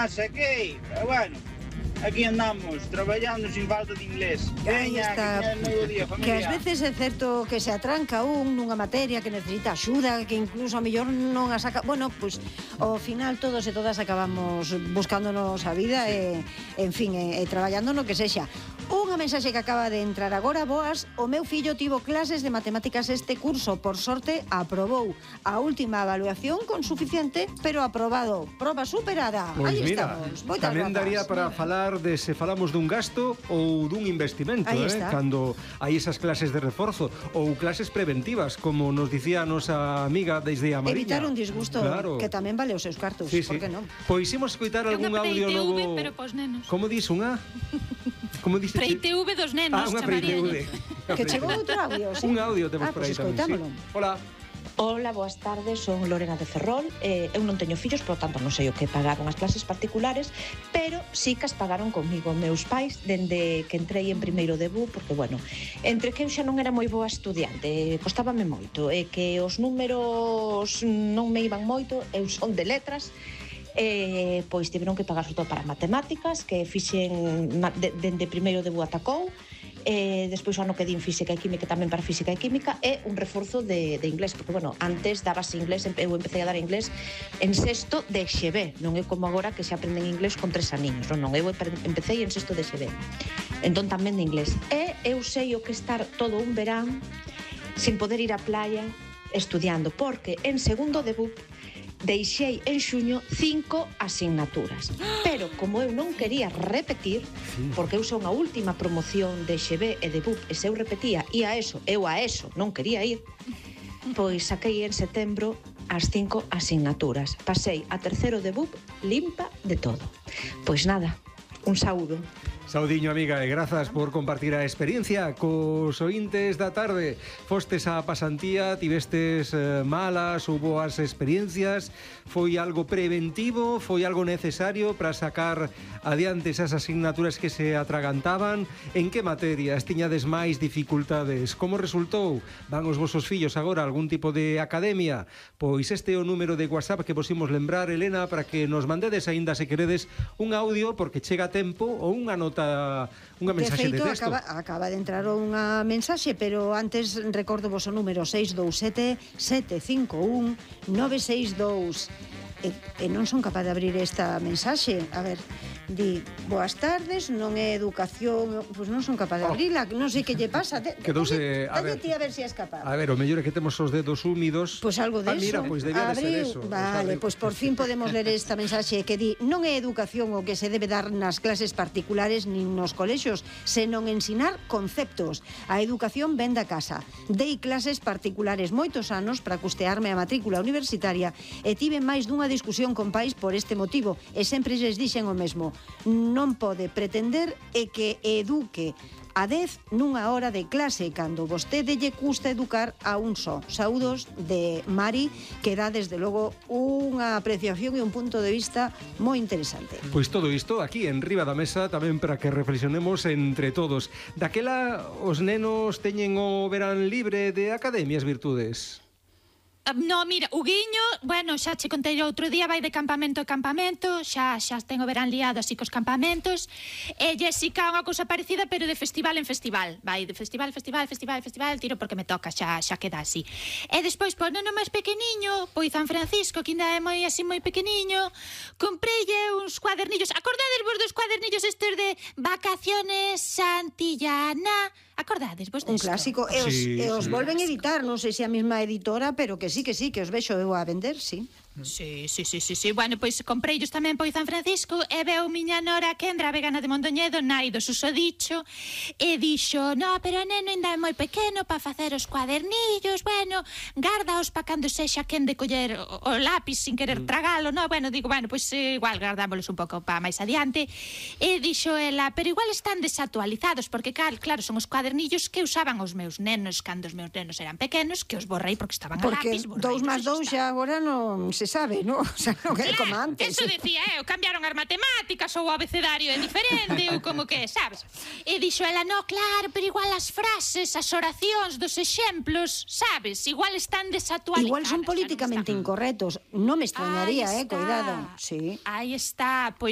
Saquei, pero bueno, aquí andamos, traballando sin falta de inglés. Veña, que novo día, familia. Que ás veces é certo que se atranca nunha materia que necesita axuda, que incluso a mellor non a saca. Bueno, pois ao final todos e todas acabamos buscándonos a vida e, en fin, e traballando no que sexa. Unha mensaxe que acaba de entrar agora, boas, o meu fillo tivo clases de matemáticas este curso, por sorte aprobou a última evaluación con suficiente, pero aprobado, proba superada. Pois Aí mira, estamos. tamén daría para falar de se falamos dun gasto ou dun investimento, cando hai esas clases de reforzo ou clases preventivas, como nos dicía a nosa amiga desde a Mariña. Evitar un disgusto, claro, que tamén vale os seus cartos, sí, por que non? Pois imos escoitar algún audio novo. pero pos nenos. Como dis unha? Como dices? Pre-ITV dos nenos, unha pre-ITV. Que chegou outro audio, sí. Un audio temos por aí tamén, sí. Hola. Hola, boas tardes, son Lorena de Ferrol. Eu non teño fillos, por tanto non sei o que pagaron as clases particulares, pero sí que as pagaron comigo meus pais dende que entrei en primeiro de BU, porque, bueno, entre que eu xa non era moi boa estudiante, costábame moito, e que os números non me iban moito, eu son de letras, pois tiveron que pagar sobre todo para matemáticas, que fixen dende primeiro de BU ata COU, despois o ano que din física e química tamén para física e química, e un reforzo de inglés, porque, bueno, antes dabas inglés, eu empecé a dar inglés en sexto de XB, non é como agora que se aprenden inglés con 3 aniños, non, eu empecé en sexto de XB, entón tamén de inglés, e eu sei o que estar todo un verán sin poder ir á playa estudiando, porque en segundo de BUP deixei en xuño 5 asignaturas, pero como eu non quería repetir, porque eu son a última promoción de XB e de BUP, e se eu repetía eu a ESO non quería ir, pois saquei en setembro as 5 asignaturas, pasei a terceiro de BUP limpa de todo. Pois nada, un saúdo. Saudiño, amiga, e grazas por compartir a experiencia cos ointes da tarde. Fostes a pasantía, tivestes malas ou boas experiencias, foi algo preventivo, foi algo necesario para sacar adiante esas asignaturas que se atragantaban. En que materias tiñades máis dificultades? Como resultou? Van os vosos fillos agora a algún tipo de academia? Pois este é o número de WhatsApp que vos imos lembrar, Elena, para que nos mandedes aínda se queredes un audio, porque chega a tempo, ou unha nota, unha mensaxe de texto. Acaba de entrar unha mensaxe, pero antes recordo vos o número 627 751 962. E non son capaz de abrir esta mensaxe. A ver, di, boas tardes, non é educación, pois non son capaz de abrila, non sei que lle pasa. Quedouse, a ver, ti a ver se és capaz. A ver, o mellor é que temos os dedos húmidos. Pois algo de eso. Mira, pois debía de ser eso. Vale, pois por fin podemos ler esta mensaxe que di, non é educación o que se debe dar nas clases particulares nin nos colexios, senón ensinar conceptos. A educación ven da casa. Dei clases particulares moitos anos para custearme a matrícula universitaria e tive máis dunha discusión con pais por este motivo e sempre lles dixen o mesmo: non pode pretender que eduque a 10 nunha hora de clase cando vostede lle custa educar a un só. Saúdos de Mari, que dá desde logo unha apreciación e un punto de vista moi interesante. Pois todo isto aquí en riba da mesa tamén para que reflexionemos entre todos. Daquela os nenos teñen o verán libre de academias virtudes. No, mira, o Guiño, bueno, xa che contei outro día, vai de campamento a campamento, xa tengo verán liado así cos campamentos, e Jessica unha cousa parecida, pero de festival en festival, vai de festival, tiro porque me toca, xa queda así. E despois, pois, neno máis pequeniño, pois San Francisco, que ainda é moi así moi pequeniño, compreille uns cuadernillos, acordades vos dos cuadernillos estes de Vacaciones Santillana? Acordades vos desto? Un clásico, e os volven a editar, non sei se a mesma editora, pero que sí, que os vexo eu a vender, sí. Sí. Bueno, pois compreillos tamén pois San Francisco e veu miña nora Kendra, vegana de Mondoñedo, nai do susodicho, e dixo, no, pero o neno ainda é moi pequeno para facer os cuadernillos, bueno, gárdaos para cando sexa quen de coller o lápis sin querer tragalo, no, bueno, digo, bueno, pois igual gardámoslos un pouco para máis adiante, e dixo ela, pero igual están desactualizados, porque claro, son os cuadernillos que usaban os meus nenos cando os meus nenos eran pequenos, que os borrei porque estaban a lápis, porque 2 más 2 xa agora non se sabe, non? O sea, non é como antes. Eso decía, cambiaron as matemáticas ou o abecedario é diferente, ou como que, sabes? E dixo ela, no, claro, pero igual as frases, as oracións dos exemplos, sabes? Igual están desactualizadas. Igual son políticamente incorrectos. Non me extrañaría, cuidado. Sí. Aí está, pois